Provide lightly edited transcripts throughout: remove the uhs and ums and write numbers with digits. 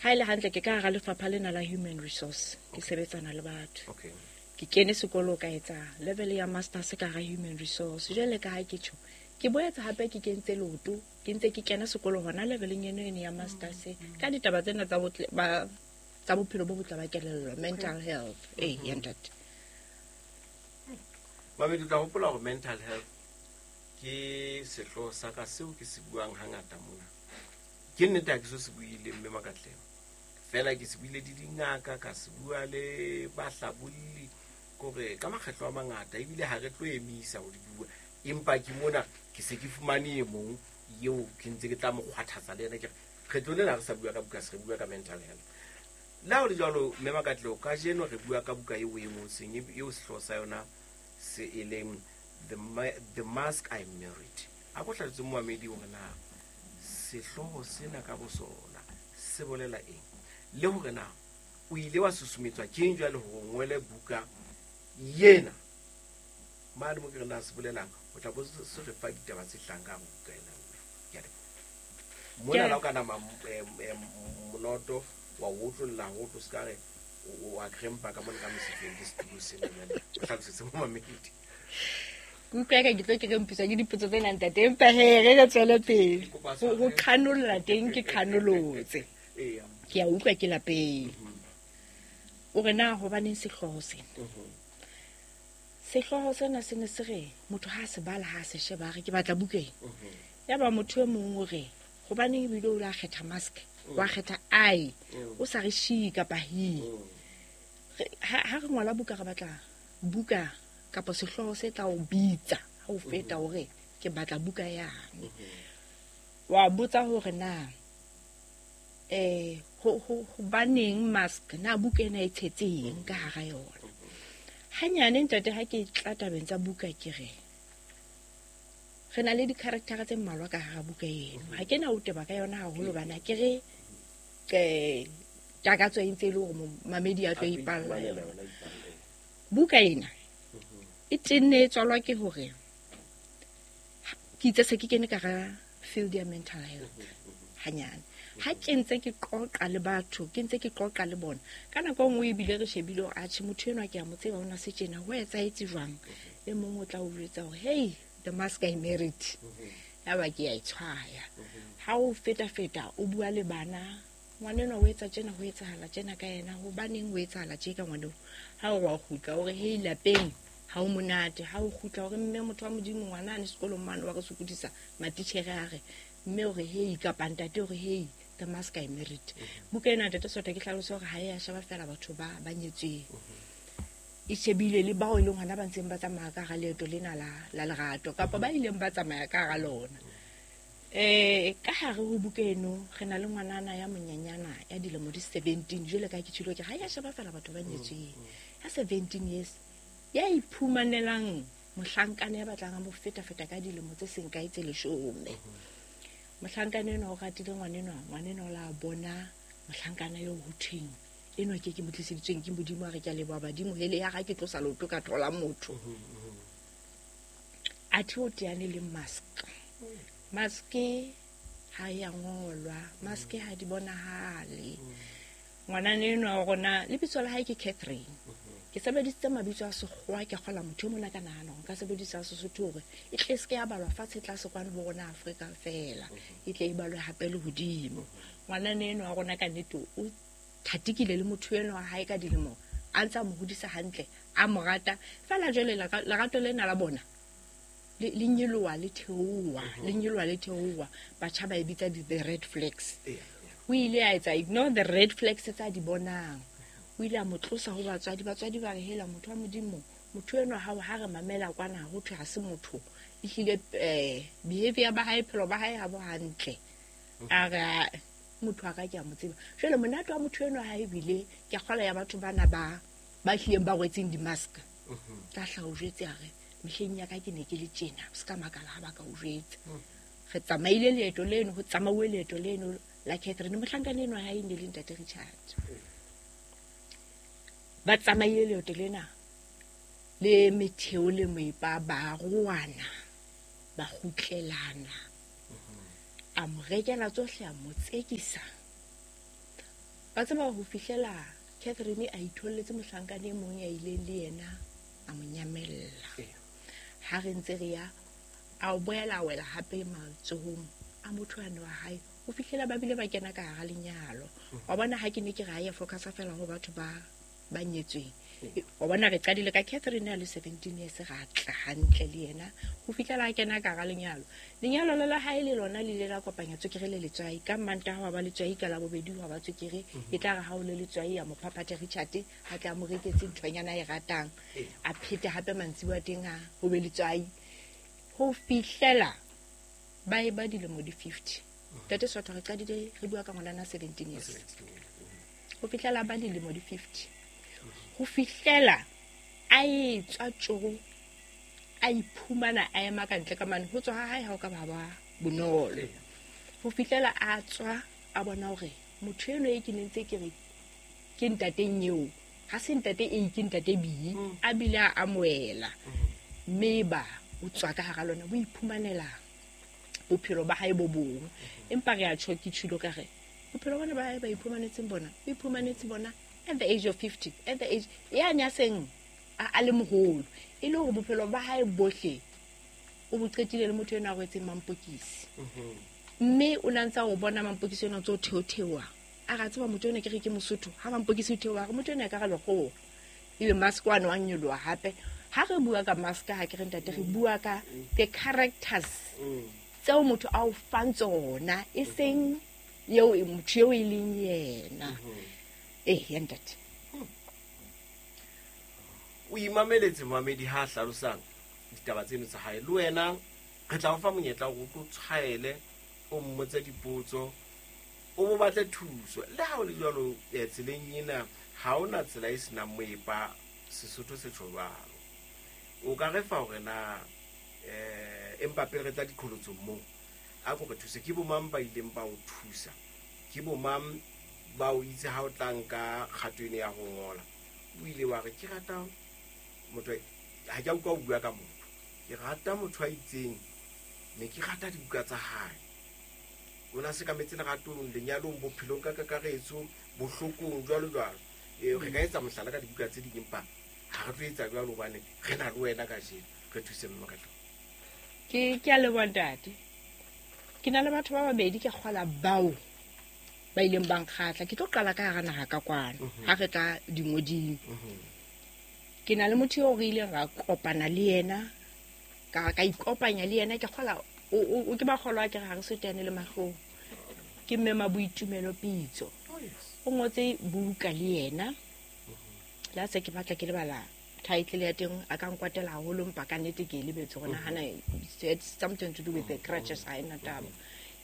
Ha e le hantle ke ka hara lefapha lena la human resource, ke sebetsana le batho. Okay. Ke kene sekolo ka etsa level ya masters ka hara human resource. Jwale ka ha ke tjho, ke boetse hape ke kentse leoto, ke ntse ke kena sekolo hona leveleng eno eno ya masters ka ditaba tsena tsa botle ba tsa bophelo bo botle ba kelello, mental health. Ee, ya ntate. Mamedi, o tla hopola hore mental health ke sehlooho sa ka seo ke se buang hangata mona. Ke nnete ha ke so se buile mme Makatleho. Feela ke se buile le dingaka, ka se bua le bahlabolli, kore ka makgetlo a mangata ebile ha re tlo emisa ho di bua. Empa ke mona ke se ke fumane e mong eo ke ntse ke tla mo kgwathatsa le yena ke re kgetlo lena ha re sa bua ka buka, se re bua ka mental health. Le ha ho le jwalo, mme Makatleho, kajeno re bua ka buka eo e ngotsweng, eo sehlooho sa yona se e leng The Mask I Married. A ko hlalosetse momamedi hore na sehlooho sena ka bosona se bolela eng, le hore na o ile wa susumetswa ke eng jwale hore o ngole buka yena. Mane mo ke re na se bolelang, o tla bo se re fa ditaba tse hlahang ka hare ho buka ena, mme. Ke a leboha. Mona la o ka nama, monoto wa o otlolla ho tlo se ka re o a krempa ka mona ka mosifeng ke setulo sena jwale. O hlalosetse momamedi. Ke utlwa eka ke tlo ke rempiswa ke dipotso tsena ntate, empa he re re tswele pele. Ke kopa Ho tshwarelo. qhanolla teng ke qhanolotse. Eya. Ke a utlwa ke lapeng. O re na hobaneng sehlooho sena? Sehlooho sena se ne se re motho ha a se bala, ha a se sheba, a re ke batla buka ena. Yaba motho e mong o re hobaneng ebile o la kgetha mask, wa kgetha I, o sa re she kapa he. Ha re ngola buka re batla buka kapa sehlooho se tla o bitsa ha o feta hore ke batla buka yane. Wa botsa hore na, hobaneng mask, na buka ena e tshetseng ka hara yona. Hanyane ntate ha ke tla tabeng tsa buka ke re re na le di-character tse mmalwa ka hara buka eno. Ha ke na ho teba ka yona haholo hobane ha ke re, takatso e ntse e le hore mamedi a tlo A tlo ipalla ipalla yona. yona, ipalla. Buka ena e tenne e tswalwa ke hore ke itse se ke kene ka hara field ya mental health hanyane. Ha ke ntse ke qoqa le batho, ke ntse ke qoqa le bona. Ka nako e nngwe ebile re shebile hore atjhe motho enwa ke a mo tseba, o na se tjena, ho etsahetse jwang? E mong o tla o jwetsa hore hey, the mask I married. Yaba ke a e tshwaya. Ha o feta-feta o bua le bana, ngwanenwa o etsa tjena, ho etsahala tjena ka yena, hobaneng ho etsahala tje ka ngwaneo? Ha o re wa kgutla, o re hey, lapeng ha o monate. Ha o kgutla o re mme motho wa Modimo, ngwana a ne sekolong mane wa re sokodisa, matitjhere a re mme o re hey, kapa ntate o re hey, the mask I married. Buka ena ntate Sotho ke hlalose hore ha e a sheba feela batho ba nyetsweng. E shebile le bao e leng hona ba ntseng ba tsamaya ka hara leeto lena la lerato, kapa ba ileng ba tsamaya ka hara lona. Ka hare ho buka eno re na le ngwanana ya monyenyana ya dilemo di 17, jwale ka ke tjhilo ke ha ya sheba feela batho ba nyetsweng. Ya 17 years, ya iphumanelang mohlankana ya batlang a mo feta-feta ka dilemo tse seng kae tse 10. Mohlankana enwa o ratile ngwanenwa, ngwanenwa o la bona mohlankana eo ho thweng enwa ke ke mo tliseditsweng ke Modimo, a re ke a leboha badimo, hele ya ga ke tlosa leoto ka thola motho. Athe o teane le mask. Mask ha ya ngolwa, mask ha di bonahale. Ngwanana enwa wa rona lebitso la hae ke Catherine. Ke sebedisitse mabitso a sekgowa, ke kgola motho e mona ka nahana hore nka sebedisa Sesotho hore e tle se ke ya balwa fatshe tlase kwano ho rona Afrika feela, e tle e balwe hape le hodimo. Ngwanana enwa wa rona ka nnete o thatikile le motho enwa wa hae ka dilemo, a ntse a mo hodisa hantle, a mo rata. Feela jwale lerato lena la bona le nyeloha le theoha, le nyeloha le theoha. Batjha ba e bitsa the red flags. O ile a etsa ignore the red flags tsa di bonang. O ile a mo tlosa ho batswadi. Batswadi ba re hela motho wa Modimo, motho enwa ha o ha re mamela kwana ho thwe ha se motho. Ehlile, behavior ba hae, bophelo ba hae ha bo hantle. A re, ah, motho wa ka ke a mo tseba. Jwale monate wa motho enwa ha ebile ke a kgolwa ya batho bana ba hlileng ba rwetseng di-mask. Tla hla o jwetse a re, mehleng ya ka ke ne ke le tjena, o ska makala ha ba ka o jwetsa. Re tsamaile leeto leno, ho tsamauwe leeto leno la Catherine. Mohlankana enwa ha e ne le ntate Richard. Ba tsamaile leeto lena le metheo le moepa, ba roana, ba kgutlelana. A mo rekela tsohle, a mo tsekisa. Ba tseba ho fihlela Catherine a itholletse mohlankana e mong ya ileng le yena a mo nyamella. Ha re ntse re ya a boela a wela hape matsohong a motho ane wa hae ho fihlela ba bile ba kena ka hara lenyalo. Wa bona ha ke ne ke re ha ya focusa fela ho batho ba nyetsweng. Wa bona re qadile ka Catherine a le 17 years, ra tla hantle le yena ho fihlela a kena ka hara lenyalo. Lenyalo la hae le lona le ile la kopanya tswekere le letswai. Ka Mantaha wa ba letswai, ka Labobedi wa ba tswekere. E tla re ha o le letswai a mo phaphathe Richard, a tla mo reketse nthonyana e ratang. A phete hape mantsibuya teng a ho be letswai. Ho fihlela ba e ba dilemo di 50. Ntate Sotho re qadile re bua ka ngwanana 17 years. Ho fihlela ba dilemo di 50. Ho fihlela a etswa tjoro, a iphumana a ema ka ntle ka mane, ho tswa ha hae ha o ka ba ba bonolo. Ho fihlela a tswa a bona hore motho eno e ke ne ntse ke re ke ntateng eo, ha se ntate A, ke ntate B, a bile a amohela. Mme ba o tswa ka hara lona, o iphumanela bophelo ba hae bo bong. Empa re a tjho, ke tjhilo ka re bophelo bona ba hae ba iphumanetseng bona, o iphumanetse bona at the age of 50, at the age ya nya seng a le moholo, e le hore bophelo ba hae bohle o bo qetile le motho ena a rwetseng mampokisi. Mme o na ntsa o bona mampokisi ena o ntso theotheoha. A re a tseba motho ena ke re ke Mosotho, ha mampokisi o theoha, re motho ena e ka re lekgowa. Ebe mask wa no a nyoloha hape. Ha re bua ka mask, ha ke re ntate, re bua ka the characters tseo motho a o fang tsona, e seng eo motho eo e leng yena. Ya ntate. O imameletse momamedi ha a hlalosang ditaba tseno tsa hae. Le wena re tla o fa monyetla hore o tlo tshwaele, o mmotse dipotso, o bo batle thuso. Le ha o le jwalo, tseleng ena ha hona tsela e senang moepa, Sesotho se tjho jwalo. O ka re fa hore na, empa pele re tla diqholotsong moo, a ko re thuse. Ke bo mang ba ileng ba o thusa? Ke bo mang ba o itse ha o tla nka kgato ena ya ho ngola? O ile wa re ke rata motho, ha ke a utlwa o bua ka motho. Ke rata motho a itseng, ne ke rata dibuka tsa hae. O na sekametse leratong, lenyalong, bophelong ka kakaretso, bohlokong, jwalo jwalo. Re ka etsa mohlala ka dibuka tse ding, empa ha re tlo etsa jwalo hobane re na le wena kajeno. Re thuse mme Makatlo. Ke a leboha ntate. Ke na le batho ba babedi ke kgola bao ba ileng ba nkgatla. Ke tlo qala ka hara naha ka kwano, ha re tla dingoding. Ke na le motho eo re ileng ra kopana le yena, ka ikopanya le yena, ke kgola, o ke ba kgolwa ke re ha re sotane le mahlong. Ke mme Maboitumelo Pitso. O ngotse buka le yena. Le ha se ke batla ke lebala title ya teng, a ka nkwatela haholo, empa ka nnete ke e lebetse hore nahana it's something to do with the crutches, ha ena taba.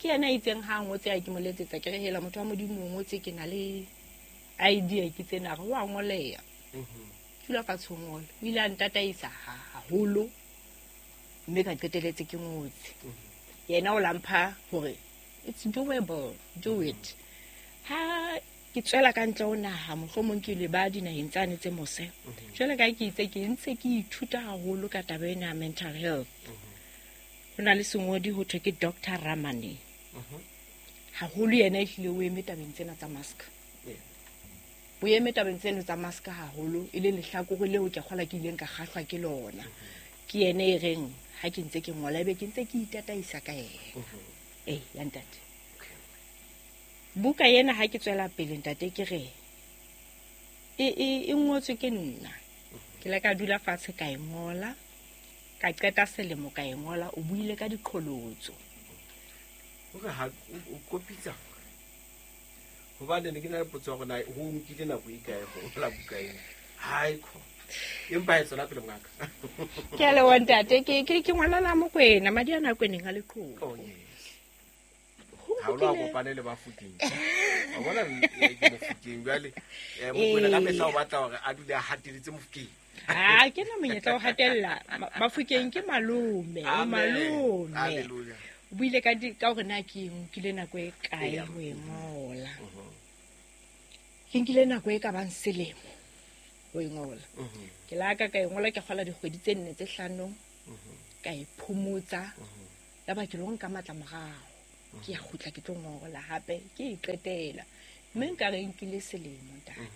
Ke yena a itseng ha a ngotse a ke mo letsetsa, ke re hela motho wa Modimo o ngotse, ke na le idea ke tsena, re wa ngoleha. Dula fatshe o ngole. O ile a ntataisa haholo, mme ka qeteletse ke ngotse. Yena o la mpha hore it's doable, do it. Ha ke tswela ka ntle ho naha, mohlomong ke le ba dinaheng tsane tse mose. Jwale ka ke itse ke ntse ke ithuta haholo ka taba ena ya mental health. Ho na le sengodi ho thwe ke Doctor Ramani. Haholo yena ehlile o eme tabeng tsena tsa mask. O eme tabeng tseno tsa mask haholo, e le lehlakore leo ke kgola ke ileng ka kgahlwa ke lona. Ke yena e reng ha ke ntse ke ngola, ebe ke ntse ke itataisa ka yena. Ya ntate. Buka ena ha ke tswela pele ntate ke re e ngotswe ke nna. Ke ile ka dula fatshe ka e ngola, ka qeta selemo ka e ngola. O buile ka diqholotso. Hore ha o kopitsa, hobane ne ke na le potso ya hore na ho nkile nako e kae ho ngola buka ena. Hai kho. Empa e tswela pele ngaka. Ke a leboha ntate, ke ngwanana Mokwena, madi a nako e neng a le qhobo. Oh yes. Ha o lo kopane le Bafokeng. Wa bona, ke Mofokeng jwale. Mokwena ka mehla o batla hore a dule a hateletse Mofokeng. Ha ke na monyetla o hatella. Bafokeng ke malome, o Amen. malome. Hallelujah. O buile ka di, ka hore na ke nkile nako e kae ho e ngola. Ke nkile nako e ka bang selemo ho e ngola. Ke la ka ka e ngola ke kgola dikgwedi tse nne tse hlano. Ka e phomotsa. Ya ba ke lo nka matla morao. Ke ya kgutla ke tlo ngola hape, ke e qetela. Mme nka re nkile selemo ntate.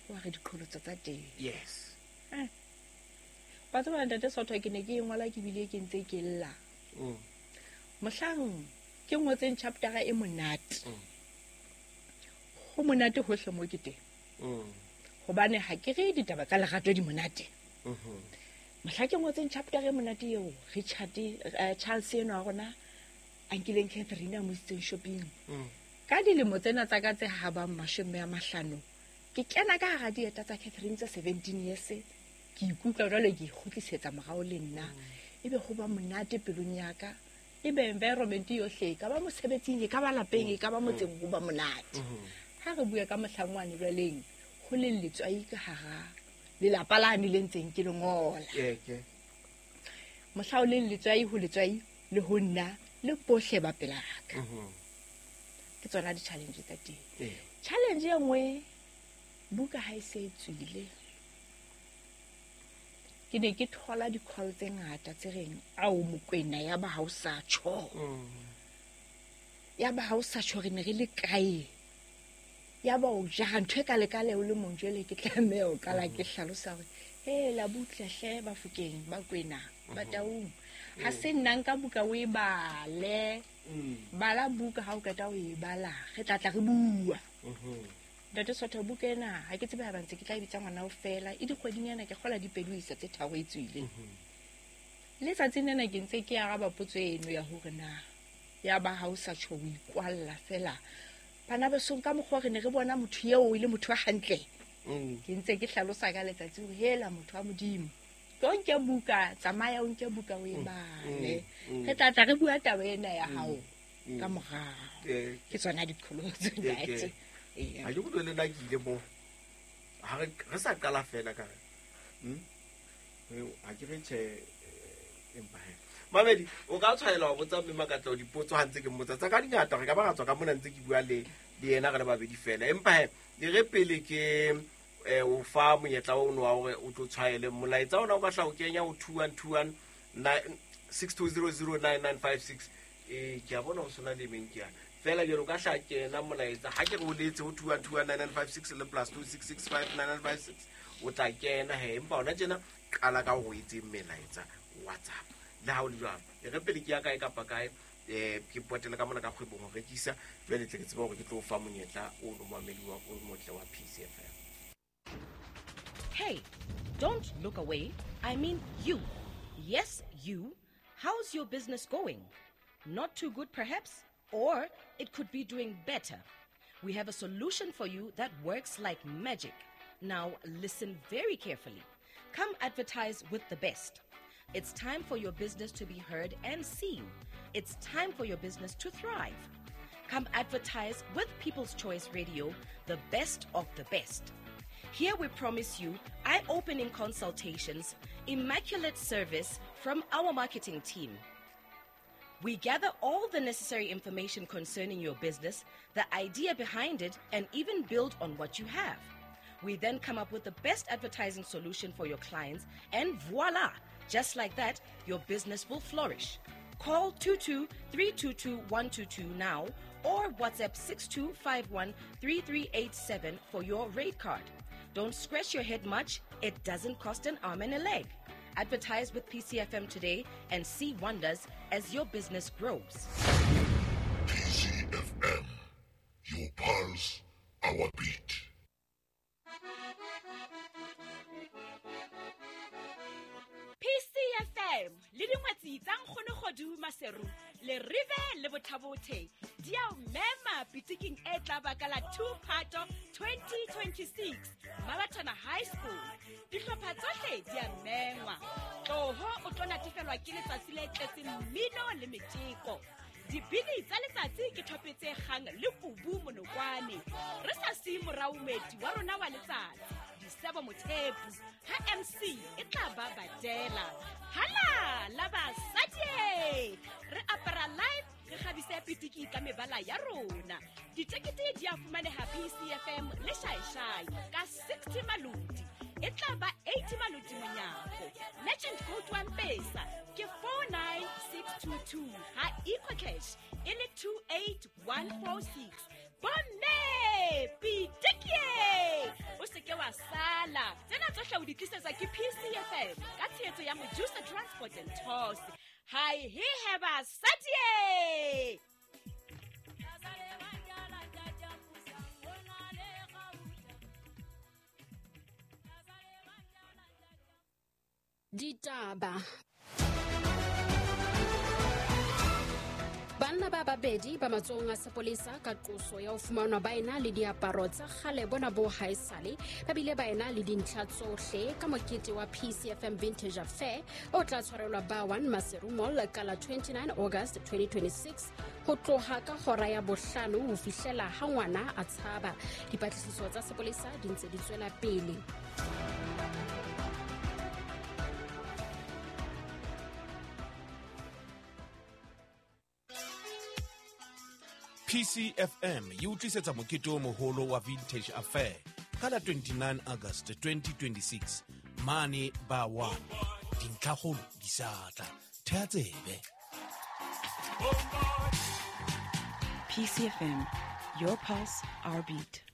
Wa re diqholotso tsa teng. Yes. Wa tseba ntate Sotho ke ne ke e ngola ke bile ke ntse ke lla. Mohlang ke ngotseng chapter e monate. Ho monate hohle mo ke teng. Hobane ha ke re ditaba tsa lerato di monate. Mohla ke ngotseng chapter e monate eo Richard Charles eno wa rona a nkileng Catherine a mo isitseng shopping. Ka dilemo tsena tsa ka tse habang 50, ke kena ka hara dieta tsa Catherine tsa 17 years, ke ikutlwa jwale ke ikgutlisetsa morao le nna. Ebe ho ba monate pelong ya ka. Ebe environment yohle, e ka ba mosebetsing, e ka ba lapeng, e ka ba motseng, ho ba monate. Ha re bua ka mohlangwane jwaleng, ho le letswai ka hara lelapa lane le ntseng ke le ngola. Mohla o leng letswai ho letswai le ho nna le bohle ba pela ka. Ke tsona di-challenge tsa teng. Challenge e nngwe, buka ha e se e tswile, ke ne ke thola di-call tse ngata tse reng, ao Mokwena ya ba ha o sa tjho. Ya ba ha o sa tjho re ne re le kae? Ya ba o jara ntho e ka lekale o le mong jwale ke tlameha ho qala ke hlalosa hore he la butle hle Bafokeng ba Kwena ba Taung. Ha se nna nka buka o e bale. Bala buka ha o qeta o e bala, re tla tla re bua. Ntate Sotho buka ena ha ke tsebe ha ba ntse ke tla e bitsa ngwana o fela e dikgwedinyana ke kgola dipedi ho isa tse 3 e tswile. Letsatsing lena ke ntse ke araba potso eno ya hore na ya ba ha o sa tjho o ikwalla fela. Bana ba song ka mokgwa re ne re bona motho eo e le motho wa hantle. Ke ntse ke hlalosa ka letsatsi hore hela motho wa Modimo. Tlo nke buka, tsamaya o nke buka o e bale. Re tla tla re bua taba ena ya hao ka morao. Ke tsona diqholotso ntate. Ha ke utlwe le nna ke ile moo. Ha re sa qala fela ka re. Ha ke re tjhe empa he. Mamedi, o ka tshwanela wa botsa mme Makatleho dipotso ha ntse ke mmotsa. Tsa ka di ngata, re ka ba ra tswa ka mona ntse ke bua le yena re le babedi fela. Empa he, e re pele ke o fa monyetla ono wa hore o tlo tshwaele molaetsa ona o ka hla o kenya ho 2121 62009956. Ke a bona ho sona le meng ke yana. Fela jwale o ka hla kena molaetsa ha ke re o letse ho 21219956 le plus 26659956 o tla kena he. Empa hona tjena qala ka ho etseng melaetsa WhatsApp. Le ha o le jwalo, e re pele ke ya kae kapa kae, ke potele ka mona ka kgwebong ho rekisa, jwale tle ke tsebe hore ke tlo fa monyetla o no mamedi wa o motle wa PCFM. Hey, don't look away. I mean you. Yes, you. How's your business going? Not too good, perhaps? Or it could be doing better. We have a solution for you that works like magic. Now, listen very carefully. Come advertise with the best. It's time for your business to be heard and seen. It's time for your business to thrive. Come advertise with People's Choice Radio, the best of the best. Here we promise you eye-opening consultations, immaculate service from our marketing team. We gather all the necessary information concerning your business, the idea behind it, and even build on what you have. We then come up with the best advertising solution for your clients, and voila! Just like that, your business will flourish. Call 22-322-122 now or WhatsApp 6251-3387 for your rate card. Don't scratch your head much. It doesn't cost an arm and a leg. Advertise with PCFM today and see wonders as your business grows. PCFM, your pulse, our beat. PCFM le dingwetsi tsa nkgono Kgodu Maseru le Rive le Bothabothe di a o mema pitiking e tla baka la 2 Phato 2026 Mabatana High School. Dihlopha tsohle di a mengwa. Tloho o tlo natefelwa ke letsatsi le tletseng mmino le meteko. Dibini tsa letsatsi ke thopetse kgang le kubu monokwane. Re sa siye morao moeti wa rona wa letsatsi, Disebo Mothepu, ha MC e tla ba badela. Hala la basadi! Re apara live, re kgabise pitiki ka mebala ya rona. Ditekete di a fumaneha PCFM le Shaishai ka 60 maloti. E tla ba 80 maloti monyako. Legend code wa Mpesa ke 49622 ha EcoCash e le 28146. Bomme pitikie, o seke wa sala. Tsena tsohle o di tlisetswa ke PCFM ka tshehetso ya Mojusa Transport and Tours. Hai he he basadie. Ditaba. Banna ba babedi ba matsohong a sepolesa ka qoso ya ho fumanwa ba ena le diaparo tsa kgale bona bo haesale, ba bile ba ena le dintlha tsohle ka mokete wa PCFM Vintage Affair o tla tshwarelwa ba 1 Maseru Mall ka la 29 August 2026 ho tloha ka hora ya 5 ho fihlela ha ngwana a tshaba. Dipatlisiso tsa sepolesa di ntse di tswela pele. PCFM e utlwisetsa mokete o moholo wa Vintage Affair ka la 29 August 2026 mane ba 1. Dintlhakgolo di sa tla. Thea tsebe. PCFM, your pulse, our beat.